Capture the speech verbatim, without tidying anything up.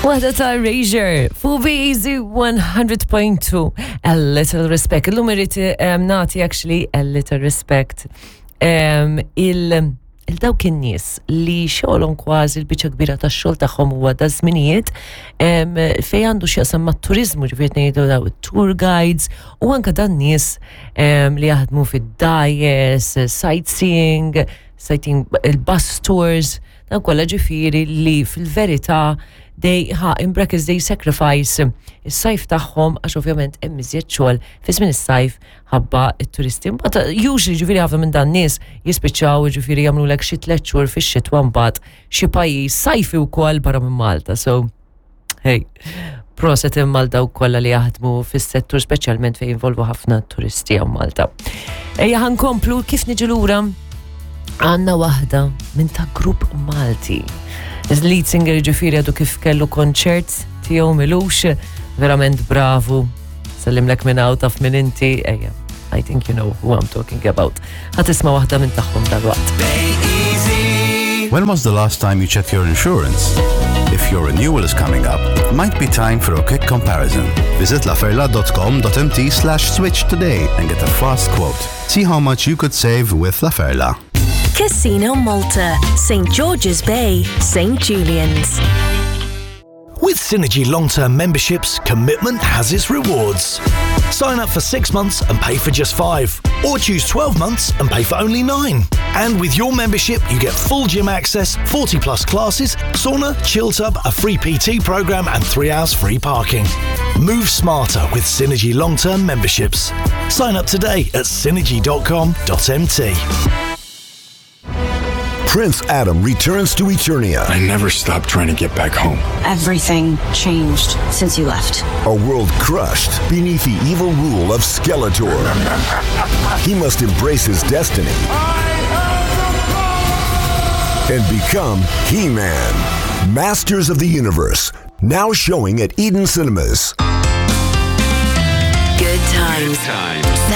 Waħda ta' Erasure, fuq Easy one hundred point two, A Little Respect. Illum irrid um, nagħti actually a little respect um, il il dawk in-nies li xogħolhom, kważi l-biċċa kbira tax-xogħol tagħhom huwa da żminijiet um, fejn għandu x'jaqsam mat-turiżmu, ġifieri ngħidu daw tour guides u anke dan nies um, li jaħdmu fid-dgħajjes, sightseeing, sightseeing, il-bus tours, dan kollha, ġifieri li fil-verità they ha in brackets they sacrifice is-sajf tagħhom, għax ovvjament hemm iżjed xogħol fi żmien is-sajf ħabba it-turisti. Mbagħad usually, ġifieri, ħafna minn dan nies jispiċċaw, ġifieri, jagħmlulek xi tliet xhur fix-xitwa mbagħad xi pajjiż sajfi wkoll barra minn Malta. So hey, proset imma dawk kollha li jaħdmu fis-settur, speċjalment fejn involvu ħafna turisti hawn Malta. Ejja ħa nkomplu. Kif niġu lura għandna waħda minn ta' grupp Malti. Il-lead singer, ġifieri, għadu kif kellu konċert tiegħu m'ilux, verament bravu. Sellimlek minn hawn, taf minn inti, ejja. I think you know who I'm talking about. Ħa tisma' waħda minn tagħhom dal-waqt. When was the last time you checked your insurance? If your renewal is coming up, it might be time for a quick comparison. Visit laferla dot com dot M T slash switch today and get a fast quote. See how much you could save with La Ferla. Casino Malta, Saint George's Bay, Saint Julian's. With Synergy long term memberships, commitment has its rewards. Sign up for six months and pay for just five, or choose twelve months and pay for only nine. And with your membership, you get full gym access, forty plus classes, sauna, chill tub, a free P T program, and three hours free parking. Move smarter with Synergy long term memberships. Sign up today at synergy dot com dot M T. Prince Adam returns to Eternia. I never stopped trying to get back home. Everything changed since you left. A world crushed beneath the evil rule of Skeletor. He must embrace his destiny and become He-Man. Masters of the Universe, now showing at Eden Cinemas. Good times. Times.